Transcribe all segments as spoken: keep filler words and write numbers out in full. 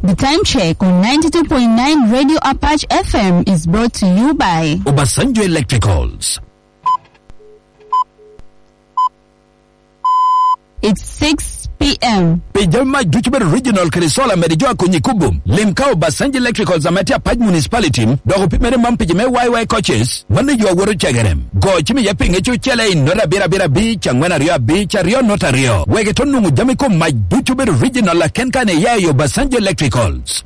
The time check on ninety-two point nine Radio Apache F M is brought to you by Obasanjo Electricals. It's six p.m. Pi jami mac ducu bedo regional kede solar, medi jo a konyi kubum. Lim ka Obasanjo Electricals ame tye Apac Municipality, dok opimere man pi jo me Y Y coaches, mano yo awoto cegere. Go cim iye pinge cucele i nota abiro abiro abic, angwen aryo abic, aryo nota aryo. Wek ito nwoŋo jami kom mac ducu bedo regional aken kan iya i Obasanjo Electricals.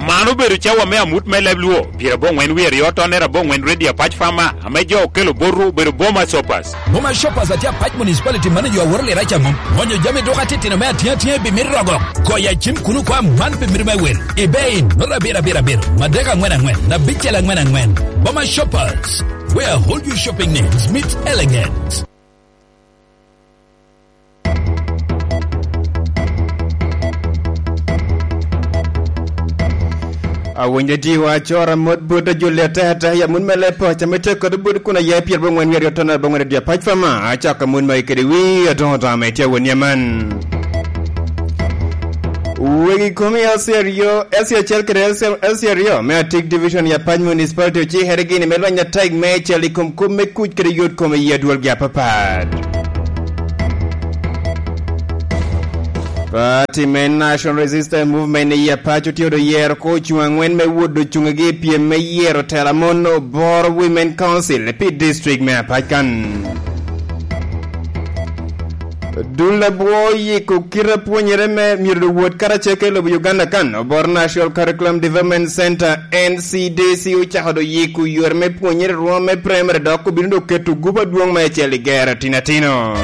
Man obedo cawa me amut me leb Luo, pyerabongwen wie aryo tonner abongwen Radio Apac Farmer, ame jo okelo botwu obedo Boma Shoppers. Boma Shoppers atye Apac Municipality manager aworo lira ca mom. Ŋonyo jami duka titino me atyeŋ atyeŋ i bimit rogo. Goyo acim kuno kwa man pi mito me wel. I bei, nota abiro abiro abiro, madek angwen angwen, abicel angwen angwen. Boma Shoppers, where all your shopping needs meet elegance. Awinyo diwa acora mot bot ajulli atek atek ya mun me lepo, ca me tye kodi bot kun aye pyer bongwen wiye aryo ton abongwen adye Apac Farmer, acako mun me kede wi adoŋo doŋo ame tye awon yaman. Wegi komi L C aryo, L C acel kede L C, L C aryo me Atik Division ya Apac Municipality ocikere gini me lweny atek me cel i kom kop me kuc kede yot kome i adwolgi apapat. Party me National Resistance Movement i Apac otye odo yero ko ocuŋ angwen me wot ocuŋgi i pyem me yero tela mon Obor Women Council pi district me Apac kan. Dul abwo oyiko kite apwonyere me myero wot karacel kede lobo Uganda kan Obor National Curriculum Development Center, N C D C, ocako do yiko yore me pwonyere rwom me primary dok obino do keto gup adwoŋ me acel i gero tinatino.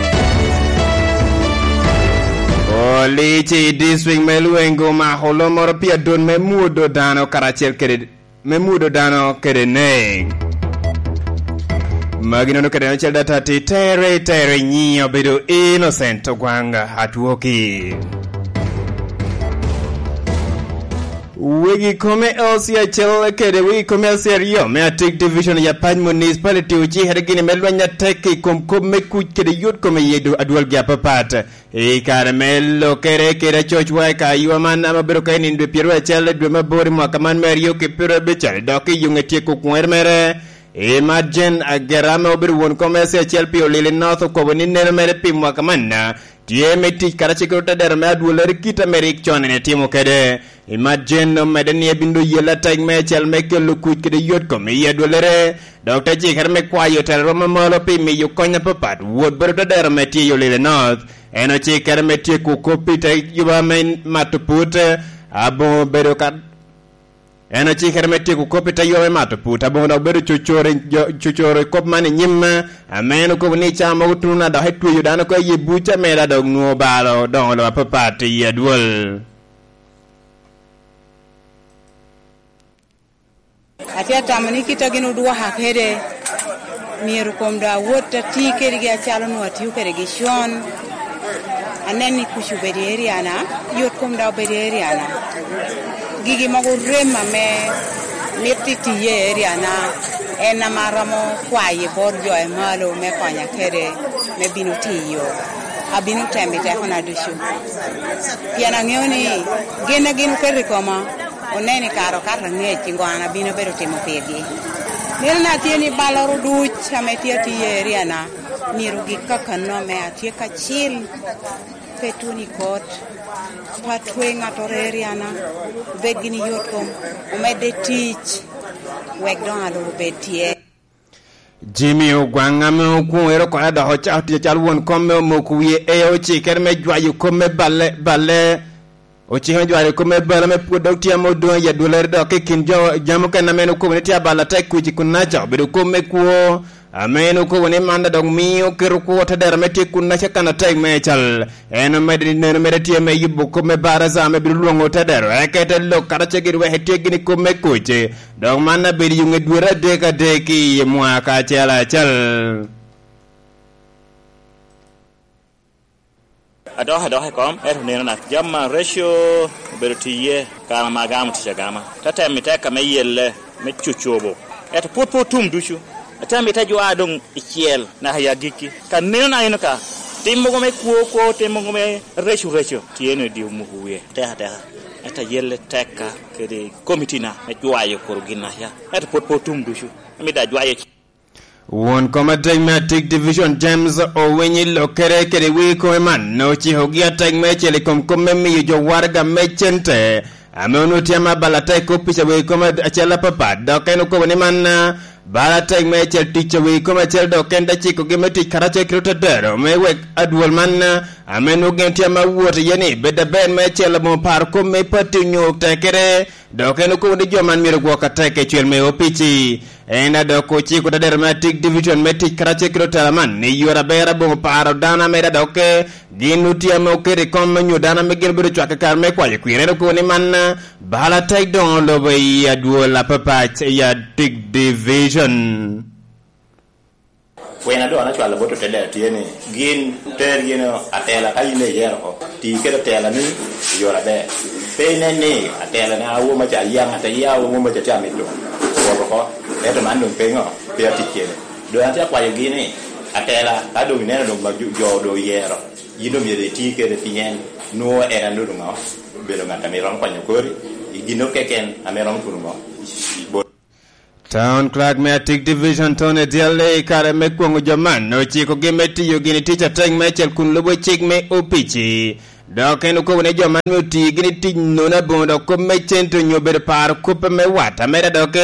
Police i district me Lwengo omako lomoro pi adot me mwodo dano karacel kede me mudo dano kede nek. Magi nono kede en ocel data ti tere, tere nyiŋe obedo Innocent Ogwang Atwoki. Wegi kome L C acel kede wegi kome L C aryo me Atik Division ya Apac Municipality ocikere gini me lweny atek i kom kop me kuc kede yot kome i adwolgi apapat. I kare me lokere kede acocwa i kaywa man ame obedo ka i nino dwe pyeraryo acel i dwe me aboro i mwaka man me aryo ki pyeraryo abic, dok i yuŋe tyeko kwoŋere mere, Imad Jane Agera ame obedo won kom L C acel pi Olili North okobo ni neno mere pi mwaka man tye me tic karacel kede otedero me adwollere kit ame rik con en etimo kede. Imad Jane omedde ni ebino yelle atek me acel me kelo kuc kede yot kom i adwollere, dok te cikere me kwayo otelo rwom amalo pi miyo kony apapat wot bot otedero ame tye i Olili North. En ocikere me tyeko kop i te yuba me mato put, aboŋo bedo ka, en ocikere me tyeko kop i te yuba me mato put, aboŋo dok bedo cocoro, cocoro i kop man i nyim, ame en okobo ni i cawa mogo tuno na dok etweyo dano oko i buc ameda dok nwoŋo balo doŋo lo apapat i adwol. Atye atamo ni kit a gin odwoka kede, myero kom dok awot ati kedgi acalo onwoŋo atio kedgi con. Anen ni kuc obedo i eriana, yot kom dok obedo i eriana. Gigi mogo rem ame mito itiye i eriana, en ame aromo kwayo bot jo i malo me konya kede, me bino tiyo. Abino temo i tekona ducu. Pien aŋeo ni gin a gin oketo i koma, oneno i kare okato angec i ŋo an abino bedo timo pirgi. Mito na tye ni balloro duc ame tye atiyo i eriana, myero gik kakano ame atye kacil, pe tuno i kot, pe atwe ŋattoro i eriana, obed gini yot kom, omedde tic, wek doŋ alur obed tye. Jimmy Ogwang ame okwoŋere oko dok ocako tic acalo won kom me omoko wie e ocikere me jwayo kop me balle, balle, ocikere me jwayo kop me balle me pwod dok tye ame odoŋ i adwollere dok i kin jo, jami okene ame en okobo ni tye abalo atek kuc i kun naca obedo kop me kwo, ame en okobo ni man dok mio keto kwo te dero ame tye kun naca kan atek me cal. En omedde ni neno mere tye me yubo kop me baraza ame bino lwoŋo te dero, eka ete lok karacel gin wek etye gini kop me kuc. Dok man abedo i ŋe dwete adek adek i mwaka acel acel. Adok adok i kom, ento neno na jama reco obedo tiye, kara ma agamo tic agama. Te temo i teka me yelle, me cucobo. Ento pwod pe otum ducu. Atemo i te jwa doŋ i cel, naka i agikki. Ka neno na eno ka, Tim mogo me kwo kwo, tim mogo me reco reco, tye ni odi omuko wie tek ateka. Ento ayelle tekka kede komitina me jwayo kor gin aca. Ento pwod pe otum ducu. Amito ajwayo ci- Won kom atek me Atik Division, James Owinyi, lokere kede wi kome man, ocikogi atek me cel i kom kop me miyo jo waraga me cente, ame onwoŋo tye ame abalo atek kop pica wi kome acel apapat, dok en okobo ni man, ah, bal atek me cel tic wi kome acel, dok en te cikogi me tic karacel kede otedero me wek adwol man, ah, ame nwoŋo gin tye ame awot iye ni, bed aber me cel aboŋo paro kop me pati onyo tekere, dok en okobo ni jo man myero gwok atek i cwel me opici. En a dok ociko otedero me Atik Division me tic karacel kede otela man, ni yore aber aboŋo paro dano ame da dok, eh, gin otye ame oketo i kom me nyo dano ame gin obedo cwak i kare me kwayo kwir. En okobo ni man, eh, bal atek doŋo lobo i adwol apapac i Atik Division. Kwena doŋ an acwalo bot otedero tye ni, gin ter yin atela ka yin iyero oko, ti kede atela ni i yore aber. Pe inen ni atela na awo maca ayaŋ, ate ya awo maca tye amito wot oko, ento man doŋ pe ŋo, pe atic kede. Doŋ an tye akwayogi ni, atela, ka doŋ ineno doŋ ma jo, jo doŋ oyero, yin doŋ myero iti kede pien nwoŋo en a nwoŋo doŋ ŋo, obedo ŋat ame romo konyo kori i gin keken ame romo tuno ŋo, bot. Town Clerk me Atik Division, Tony Dyelle, i kare me kwoŋo jo man, ocikogi me tiyo gini tic atek meicel kun lubo cik me opici. Dok en okobo ni jo man me oti gini tic nono aboŋo dok kop me cente onyo bedo paro kop me wat. Ameda dok,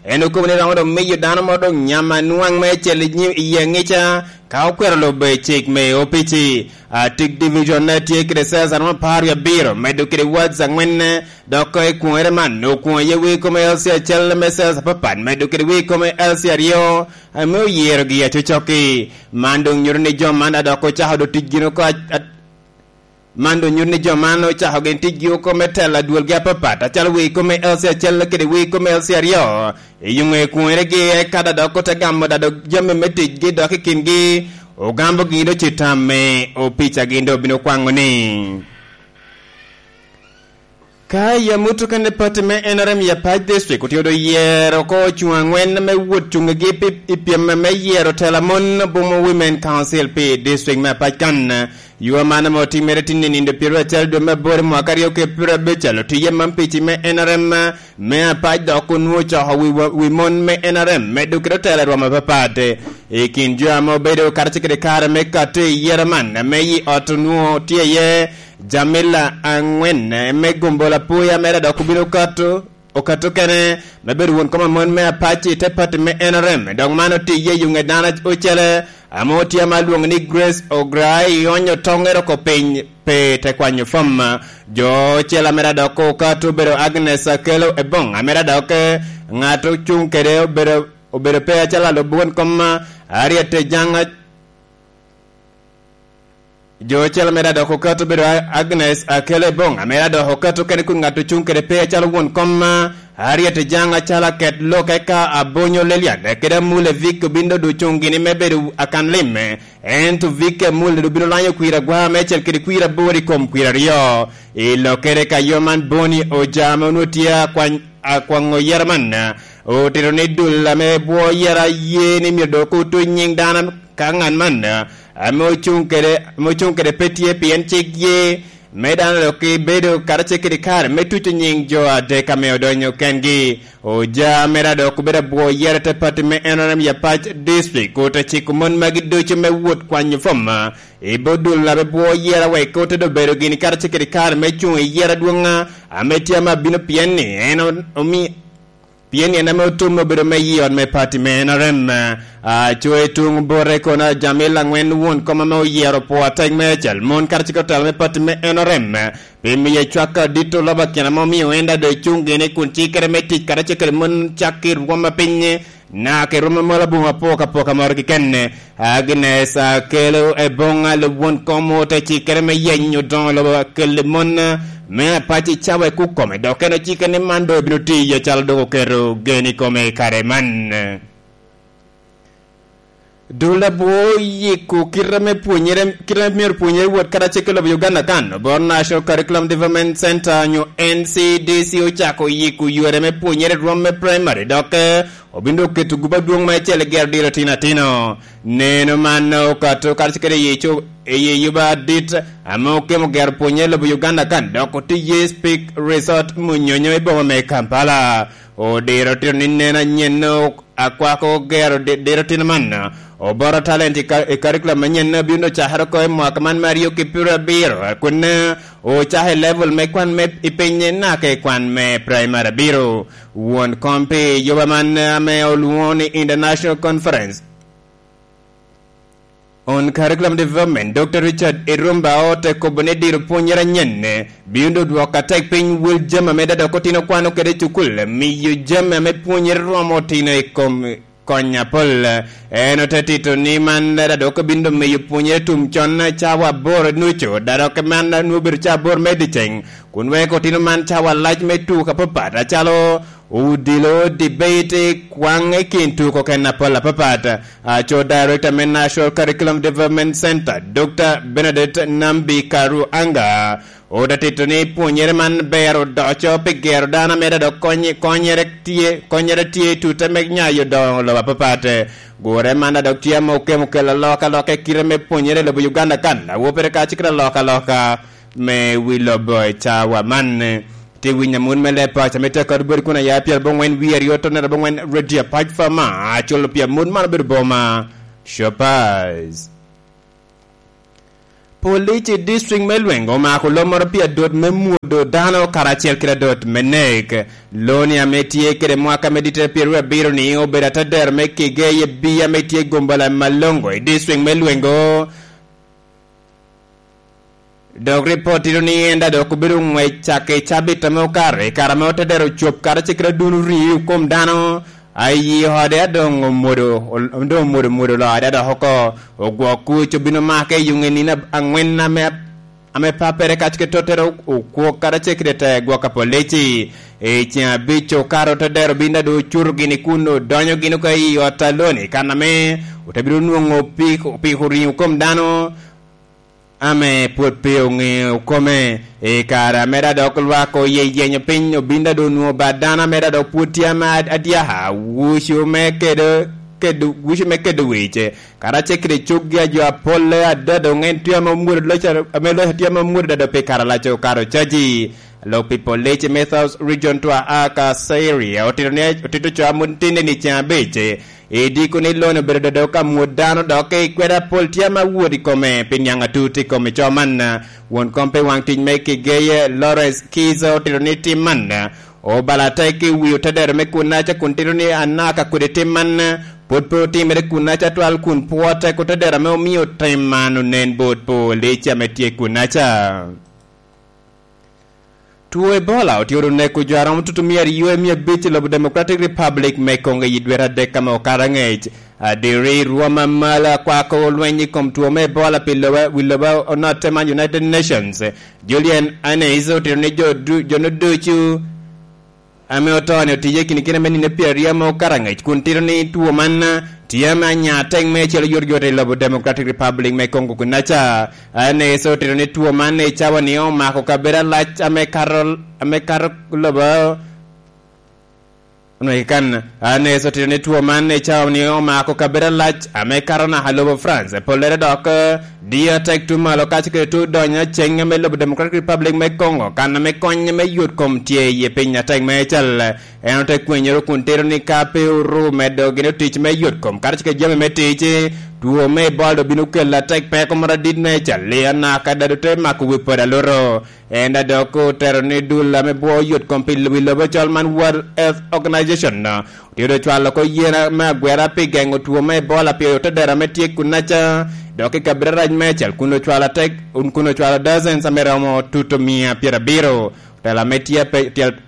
en okobo ni romo dok miyo dano mo dok nyam anwaŋ meicel i nyi-, i aŋica, ka okwero lubo i cik me opici. Atik Division ne tye kede sales aromo apar wie abiro, medo kede wards aŋwen, dok i kwoŋere man, okwoŋo iye wi kome L C acel me sales apapat, medo kede wi kome L C aryo, ame oyerogi acocokki. Man doŋ nyuto ni jo man a dok ocako do tic gin oko a-, a-, man doŋ nyuto ni jo man ocako gin ticgi oko me telo adwolgi apapat, acalo wi kome L C acel kede wi kome L C aryo. I yo ŋe kwoŋeregi, eka da dok ote gamo da dok jami me ticgi dok i kingi, ogambo gin doŋ ci tam me opica gin doŋ obino kwaŋo ni. Ka i amut okene pati me N R M i Apac District otye doŋ yero oko ocuŋ aŋwen me wot cuŋgi pi, i pyem me yero tela mon, Bumo Women Council pi district me Apac kan. Yo man ame otimere tin i nindo pyeraryo acel dwe me aboro mwaka aryo kede pyeraryo abic, alo tiye man pici me N R M me Apac dok onwoŋo ocoko wi, wi mon me N R M me dok kede otela i rwom apapat. I kin jo ame obedo karacel kede kare me kato i yero man, ame i ot onwoŋo tye iye Jamila aŋwen, eh, me gombo lapoya mere dok obino okato, okato kene me bedo won kom amon me Apac i te pati me N R M. Dok man otiye i ŋet dano ocele, ame otye ame alwoŋo ni Grace Ograi, ionyo toŋere oko piny pe te kwanyo fom. Jo ocele mere dok okato obedo Agnes Akelo Ebong, mere dok, eh, ŋat ocuŋ kede obedo, obedo pe acalo alub won kom, eh, Harriet Ejang, Jo ocele mere dok okato bedo A-, Agnes Akele Bong, mere dok okato kene kun ŋat ocuŋ kede pe acalo won kom, Harriet Ejang acalo aket lok, eka Abonyo Lelian, kede Amule Vic obin dodo ocuŋ gini me bedo akan lim, ento Vic Amule dodo obino lanyo kwir agwa me acel kede kwir aboro i kom kwir aryo. I lokere ka yo man Boni Ojama onwoŋo tye akwany-, akwaŋo yero man, otito ni dul ame bwo yero aye ni myero dok otuc nyiŋ dano ka ŋat man, ame ocuŋ kede, ame ocuŋ kede pe tye, pien cik ye me dano dok bedo karacel kede kare me tuco nyiŋ jo adek ame odonyo kengi. Oja mere dok obedo abwo yere te pati me N R M ya Pac District, ote ciko mon magi ducu me wot kwanyo fom i bot dul ame bwo yere, wek ote dobedo gini karacel kede kare me cuŋ i yere adwoŋ ame tye ame abino, pien ni en o-, omi-, pien ni en ame otum obedo me yi ot me pati me N R M. A, co i tuŋ bote kono Jamil Angwen won kom ame oyero pwo atek me acel mon karacel kede otela me pati me N R M, pi miye cwak adit oloba kina ma omio en daŋ doŋ cuŋ gini kun cikere me tic karacel kede mon cak i rwom apiny, naka i rwom amalo aboŋo apoka apoka moro keken. Agnes Akelo Ebong, lub won kom, ote cikere me yenyo odoŋo lobo akel mon me Apac i cawa i kukome, dok en ocike ni man doŋ obino tiyo acalo doŋ oketo gen i kome i kare man. Dul abwo oyiko kite me pwonyere, kite me myero pwonyere wot karacel ki lobo Uganda kan, bot National Curriculum Development Center nyo N C D C ocako yiko yore me pwonyere i rwom me primary, dok, eh, obino oketo guba dwoŋ me acel i gero diro tino atino. Neno man okato karacel kede i co-, i yuba adit ame okemo gero pwonyere i lobo Uganda kan, dok otye ye Speke Resort Munyonyo i boma me Kampala. Odiro tito ni neno anyen akwako gero di-, diro tino man, Oboro Talent i ka-, i curriculum manyen obino cakere oko i mwaka man me aryo ki pyerabiro, kun ocako i level me kwan me i piny naka i kwan me primary abiro. Won kom pi yuba man ame olwoŋo ni International Conference on Curriculum Development, Doctor Richard Irumba, ote kobo ni diro pwonyere anyen bino dwoko atek piny wel jami ame dada oko otino kwano kede i cukul, miyo jami ame pwonyere romo otino i kom kony apol. En ote tito ni man dada oko bino miyo pwonyere tum con cawa aboro nucu, dada oko man nwoŋo obedo cawa aboro me dyeceŋ, kun weko otino man cawa lac me tuko apapat, acalo odilo, debate, kwaŋ i kin tuko kene apol apapat. Aco Director me National Curriculum Development Center, Doctor Benedict Nambi Karu Anga, ote tito ni pwonyere man ber odoco pi gero dano ame dok kony-, konyere tye, konyere tye i tute me nyayo doŋo lobo apapat. Gure man dok tye ame okemo kelo alokaloka i kite me pwonyere i lobo Uganda kan, awobe kacel kede alokaloka me wi lobo i cawa man. Tye winyo amut me leb paco ame tye akado boti kun aya pyer aboŋwen wie aryo tonnere aboŋwen Radio Pac Fama, aculo pi amut man obedo boma Shoppers. Police i district me Lwengo omako lom moro pi adot me mwodo dano karacel kede adot me nek. Loni ame tye kede mwaka me dittere pyeraryo abiro ni obedo atadero me kige i bii ame tye gombala Malongo i district me Lwengo. Dok ripot tito ni en daŋ dok obedo ngwec cak i cabit ame okato, i kare ame otedero ocop karacel kede adun orii i kom dano, a i ode a doŋ omwodo, ol-, doŋ omwodo mwodo loo ade dok oko. Ogwok kuc obino make i yuŋ i nino ab-, aŋwen ame, ame pappere kacel kede tottere o-, okwo karacel kede te gwok apolici. I ceŋ abic okato otedero bino daŋ doŋ ocuto gini kun odonyo gini oko i ot a Loni, kan ame ote bino nwoŋo pik-, piko riŋo kom dano ame pwod pe oŋeo kome. I kare ame daŋ dok lwak oye yenyo piny, obin daŋ doŋ onwoŋo bad dano ame daŋ dok pwod tye ame ad-, adyaka, wucu me kedo, kedo, wucu me kedo wic, karacel kede coggi a jo apolle ada doŋ en tye ame omwodo loc a-, ame loc tye ame omwodo dado pi kare alac okato caji. Lok pi police me South Region Twaha Kaseria otito ni, otito co a mot tinde ni ceŋ abic. I diko ni Loni obedo dodo ka mwod dano dok i kweda pol tye ame awot i kome pi niaŋ atut i kom i co man. Won kom pi waŋ tic me Kigeye, Lawrence Kiza, otito ni tim man obalo atek i wi otedero me kunnaca kun tito ni anaka kodi tim man pwod pe otimere kunnaca twal kun pwoo tek otedero ame omio tim man onen bot police ame tye kunnaca. Two Ebola otye oneko jo a romo tutumia aryo i mia abic i lobo Democratic Republic me Congo i dwe adek ame okato aŋec. Adiri, rwom a malo a kwako lweny i kom two me Ebola pi lobo, wi lobo onotte man United Nations, Julian Anneys, otito ni jo du-, jo no ducu ame oto-ni otiye i kin kite me nino pyeraryo ame okato aŋec, kun tito ni two man tye ame anya atek meicel oyotoyot i lobo Democratic Republic me Congo kunaca. Anneys otito ni two man i cawa ni omako kabedo alac ame kato, ame kato lobo. Onweki kan, Anneys otito ni two man i cawa ni omako kabedo alac ame kato naka lobo France. Pollere dok, eh, diyo atek tuŋ malo kacel kede tuŋ donyo aceng ame lobo Democratic Republic me Congo, kan ame kony me yot kom tye iye piny atek meicel. En ote kwenyoro kun tito ni ka pe oru medo gin tic me yot kom, karacel kede jami me tic, two me Ebola obino kelo atek peko moro adit meicel, anaka dado te mako wi pwod aluro. En daŋ dok otero ni dul ame bwo yot kom pi wi lobo col man World Health Organization, otye doŋ cwalo oko yen me agwera pi geŋo two me Ebola pi otedero ame tye kunaca, dok i kabedo arac meicel kun ocwalo atek, kun ocwalo dozens ame romo tutumia pyerabiro. Otelo ame tye ape-, otel-,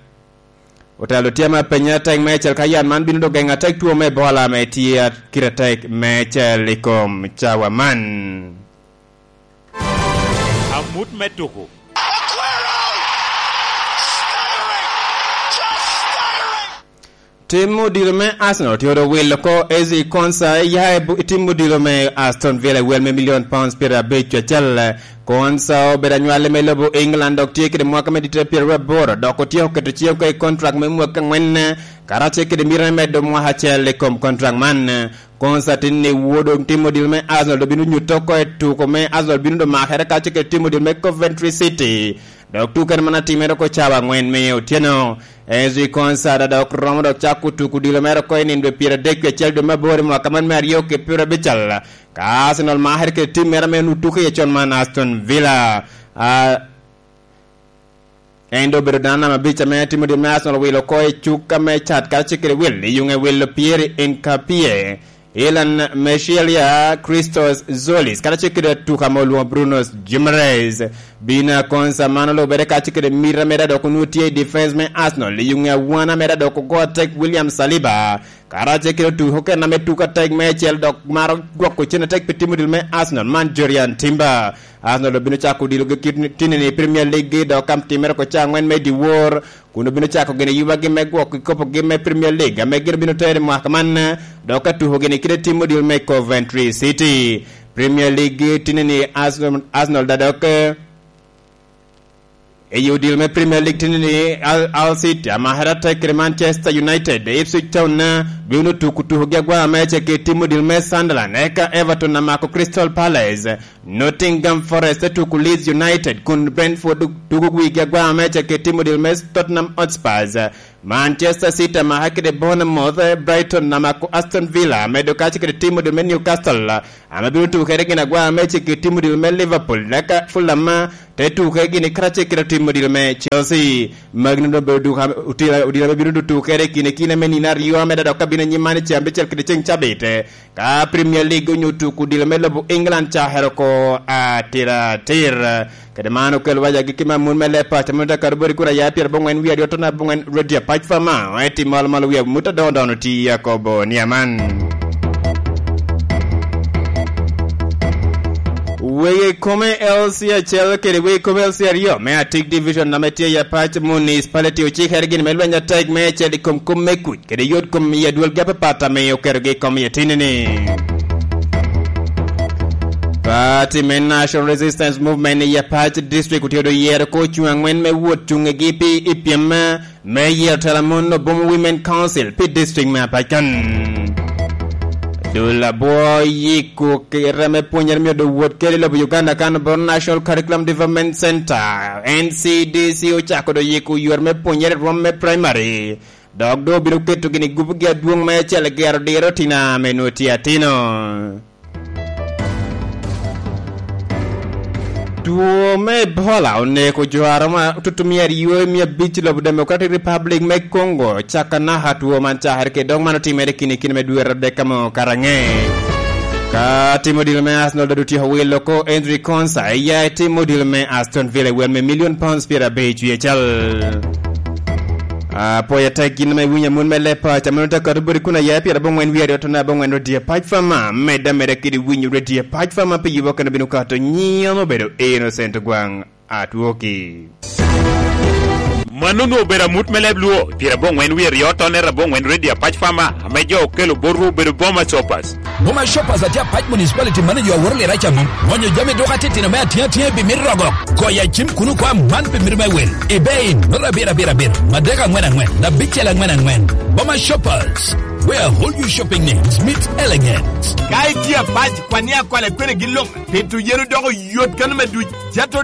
Otelo tye ame apenyo atek meicel ka yat man bino doŋ geŋo atek two me Ebola ame tye a-, kite atek meicel i kom cawa man. Amut me tuko. Tim odilo me Arsenal tye owilo oko Ezri Konsa ya i bu-, i tim odilo me Aston Villa i wel me million pounds pyerabicel. Konsa obedo anywale me lobo England dok tye kede mwaka me dite pyeraryo aboro, dok otyeko keto ciŋe oko i kontrak me mwaka angwen, karacel kede mito me medo mwaka acel i kom kontrak man. Konsa tin ni wodo tim odilo me Arsenal dok bino nyuto oko i tuko me Arsenal bino dok makere karacel kede tim odilo me Coventry City. Dok tuko en man atimere oko cawa angwen me otyeno. Ezri Konsa dok romo dok cako tuko odilo mere oko i nino dwe pyeradek wie acel dwe me aboro i mwaka man me aryo ki pyerabicel. Ka Arsenal makere kede tim mere ame onwoŋo tuko iye con man, Aston Villa. Ah, en doŋ obedo dano namba abic ame tim odilo me Arsenal owilo oko i cuk ame cat karacel kede wil i yuŋe wilo pyeri Nkapie, Ilan Meshilia, Christos Zolis, karacel kede atuka ame olwoŋo Bruno Guimaraes. Bina Konsa man olubere karacel kede mita mere dok onwoŋo tye i defense me Arsenal i yuŋe awana mere dok ogo atek William Saliba. Karacel kede otuko okene ame tuko atek meicel dok maro gwoko cen atek pi tim odilo me Arsenal man, Jurrien Timber. Arsenal obino cako odilogi kit ni-, tini-ni i Premier League dok ka timere oko cawa angwen me dyewor, kun obino cako gini yubagi me gwoko kikopogi me Premier League ame gin obino tero i mwaka man, dok ka tuko gini kite tim odilo me Coventry City. Premier League tini-ni Arsenal, Arsenal da dok, eh, I odilo me Premier League tini-ni, Al, Al City amakere atek kede Manchester United, Ipswich Town, eh, bino tuko tukogi agwa meicel kede tim odilo me Sunderland, eka Everton amako Crystal Palace, Nottingham Forest te tuko Leeds United, kun Brentford tuko wigi agwa meicel kede tim odilo me Tottenham Hotspurs, Manchester City amaka kede Bournemouth, eh, Brighton amako Aston Villa, medo karacel kede tim odilo me Newcastle, ame bino tuko kede gin agwa meicel kede tim odilo me Liverpool, eka Fulham, eh, te tuke gini karacel kede tim odilo me Chelsea. Magi doŋ obedo duka, otila, odilo ame bino tuke kede kine kine me nino aryo ame dok abino anyim man i caa abicel kede ceŋ cabit. Ka Premier League onyo tuko odilo me lobo England cakere oko atiratir. Kede man okelo waja gikki me amut me leb paco, amut akado boti kun aya pyerabongwen wie aryo tona abongwen Redia Pac Fama, eti malo malo wie amut adoŋo dono ti akobo ni aman. Wegi kome L C acel kede wegi kome L C aryo me Atik Division ame tye i Apac Municipality ocikere gin me lweny atek me ecel i kom kom me kuc kede yot kom i adwolgi apapat ame oketogi i kom i etini-ni. Party me National Resistance Movement i Apac District otye do yero ko cuŋ angwen me wot cuŋegi pi i pyem me yero tela mon Obomo Women Council pi district me Apac kan. Dul abwo yiko kite me pwonyere myero doŋ wot kede i lobo Uganda kan bot National Curriculum Development Center, N C D C, ocako doŋ yiko yor me pwonyere i rwom me primary, dok doŋ obino keto gini gupugi adwoŋ me acel gero diro tina ame nwoŋo tye atino. Two me Ebola oneko jo a romo tutumia aryo i mia abic i lobo Democratic Republic me Congo, caka naka two man cakere kede dok man otimere kini kini me dwe adek amo karaŋe. Ka tim odilo me Arsenal dodo tyeko wilo oko Ezri Konsa, iya i tim odilo me Aston Villa i wel me million pounds pyerabic wie cal. Apwoyo atek gin ame iwinyo amut me leb paco, amut te kato boti kun aya pyerabongwen wie aryo tona abongwen Radio Pac Fama, medde ameda kede winyo Radio Pac Fama pi yubo kene bino kato nyiŋ obedo Innocent Ogwaŋ Atwoki. Mano onwoŋo obedo amut me leb Luo, pyerabongwen wie aryo tona abongwen Radio Pac Fama, ame jo okelo botwu obedo Boma Shoppers. Boma Shoppers atye Apac Municipality mano jo aworo lira ca mom. Ŋonyo jami duka titino me atiŋa atiŋa i pi mito rogo. Goyo acim kuno kwa man pi mito me wil. I bei, nura abiro abiro abiro, madek angwen angwen, abicel angwen angwen. Boma Shoppers, where all your shopping needs meet elegance. Ka itye Apac, kwan ni akwale kwene gin lok, pito yen odoko yot kano me duc. Jato